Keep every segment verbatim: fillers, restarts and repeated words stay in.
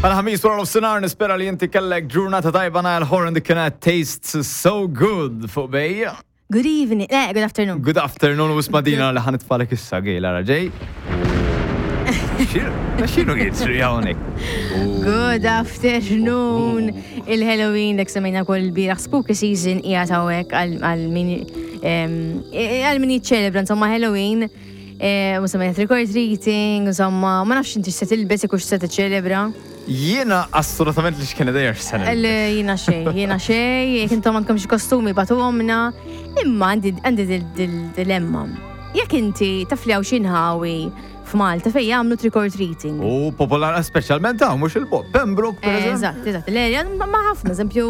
Għal ħamis wara nofsinhar, nispera li inti kellek ġurnata tajba. Niall Horan, dik kienet "Tastes So Good" fuq Bay. Good evening, eh, good afternoon. Good afternoon, u smadina li ħa nitfagħlek issa għej lara ġej. X'inhu jiġri hawnhekk? Good afternoon. Il-Halloween, dak semmejna kol bieraħ, spooky season hija hawnhekk għal min għal min jiċċelebra insomma Halloween. Eh, u semmejna trick or treating, insomma, ma nafx inti se tilbes jekk se tiċċelebra. Jiena assolutament li x'kien dejjer sena. Le, jiena xej, jiena xej, jekk intom għandkom xi kostumi bagħtuhomlna, imma għandi għandi dil-dilemma. Jekk inti taf li hawn xi nħawi f'Malta fejn jagħmlu trick or treating. U popolar speċjalment hawn mhux il-bogħod. Pembroke, per eżempju. Eżatt, eżatt. Le, ma ħafna, eżempju,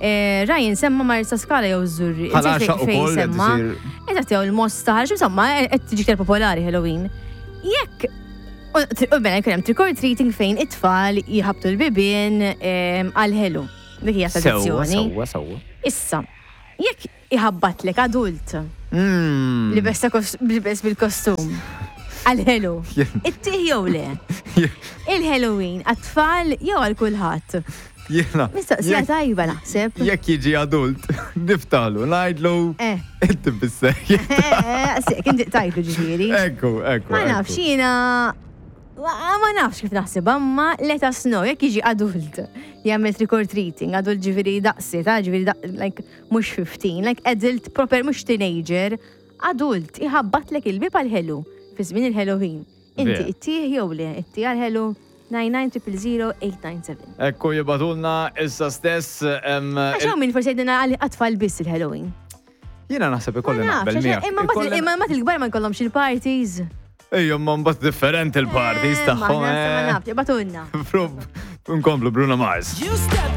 eh, Ryan semma Marsaskala jew Żurrieq. Ħal Għaxaq ukoll qed semma. isir- Eżatt, jew il-Mosta, ħarġ, insomma, qed tiġi iktar popolari Halloween. Jekk U u bena jkun hemm trick or treating fejn it-tfal jħabtu l-bibien em, għal-ħelu. Dik hija Sewwa, tradizzjoni. sewwa, sewwa. Issa, jekk iħabbatlek adult Mm. li besta kos- libes bil-kostum għal-ħelu, ittih jew le? Il-Halloween għat-tfal jew għal kulħadd? Jiena. Mistoqsija jekk- tajba naħseb. Jekk jiġi adult, niftaħlu, ngħidlu, Eh. inti bissejjed. Eh, eh, kien tajtu ġifieri. Ekku, ekku. Ma nafx, ekku. jiena ma ma nafx kif naħseb, imma let us know, jekk jiġi adult jagħmel trick or treating, adult ġifieri daqsi, ta' ġifieri daq- like mhux fifteen, like adult proper, mhux teenager, adult iħabbatlek il-bib għal-ħelu fi żmien il-Halloween. Inti Vera. ittih jew le, ittih għal-ħelu? nine nine zero zero eight nine seven. Ekku, jibagħtulna issa stess. em, Għax hawn min forsi jgħidilna għal għat-tfal biss il-Halloween. Jiena naħseb ikolli Ma nafx, naqbel għax- miegħek. Imma mbagħad- Ikolli- imma mbagħad il-kbar ma jkollhomx il-parties. Ejja, ma mbagħad differenti il-parties Eh, tagħhom. Ma eh. nafx, ibagħtulna. Nkomplu Bruno Mars. You stepped